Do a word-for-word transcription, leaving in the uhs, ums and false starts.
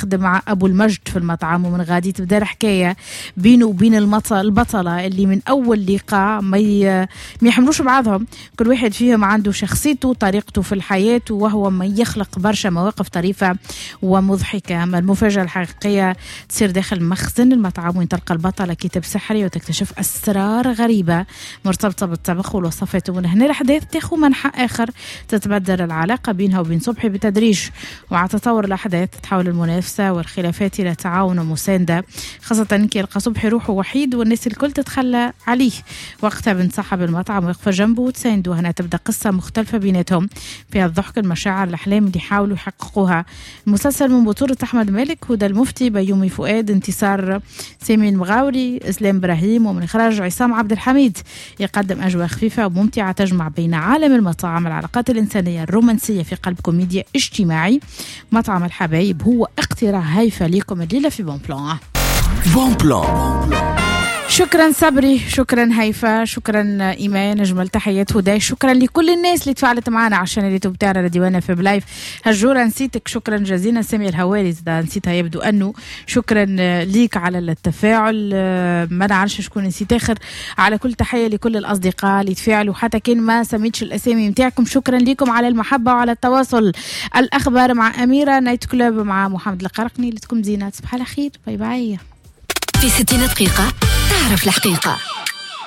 يخدم مع أبو المجد في المطعم، ومن غادي تبدأ الحكاية بينه وبين البطلة اللي من أول لقاء ما يحملوش بعضهم. كل واحد فيهم عنده شخصيته وطريقته في الحياة، وهو ما يخلق برشا مواقف طريفة ومضحكة. أما المفاجأة الحقيقية تصير داخل مخزن المطعم، وين تلقى البطلة كتاب سحري وتكتشف أسرار غريبة مرتبطة بالطبخ والوصفات. ومن هنا الأحداث تاخذ منحى آخر، تتبدل العلاقة بينها وبين صبحي بتدريج، ومع تطور الأحداث تتحول المنافسة والخلافات إلى تعاون ومساندة، خاصة كي يلقى صبحي روحه وحيد والناس الكل تتخلى عليه. وقتها بنت صاحب المطعم واقفة جنبه وتسانده. هنا تبدأ قصة مختلفة بيناتهم فيها الضحك، المشاعر، الأحلام اللي يحاولوا يحققوها. المسلسل من بطولة أحمد مالك، هدى المفتي، بيومي فؤاد، انتصار سامي المغاوري، إسلام إبراهيم، ومن إخراج عصام عبد الحميد. يقدم أجواء خفيفة وممتعة تجمع بين عالم المطاعم، العلاقات الإنسانية الرومانسية في قلب كوميديا اجتماعي. مطعم الحبايب هو اقتراح هايفة ليكم الليلة في Bon Plan. Bon Plan. شكرا صبري، شكرا هيفا، شكرا إيمان، أجمل تحيات هدى، شكرا لكل الناس اللي تفاعلت معنا عشان اليوتيوب تاعنا ديوانا في بلايف. هجورة نسيتك، شكرا جزيلا. سامي الهواري نسيتها يبدو أنه، شكرا ليك على التفاعل. ما نعرفش شكون نسيت آخر. على كل تحية لكل الأصدقاء اللي تفاعلوا حتى كان ما سميتش الأسامي متاعكم، شكرا لكم على المحبة وعلى التواصل. الأخبار مع أميرة، Night Club مع محمد القرقني. لتكم زينة، تصبح على خير، bye bye. في ستين دقيقة تعرف الحقيقة.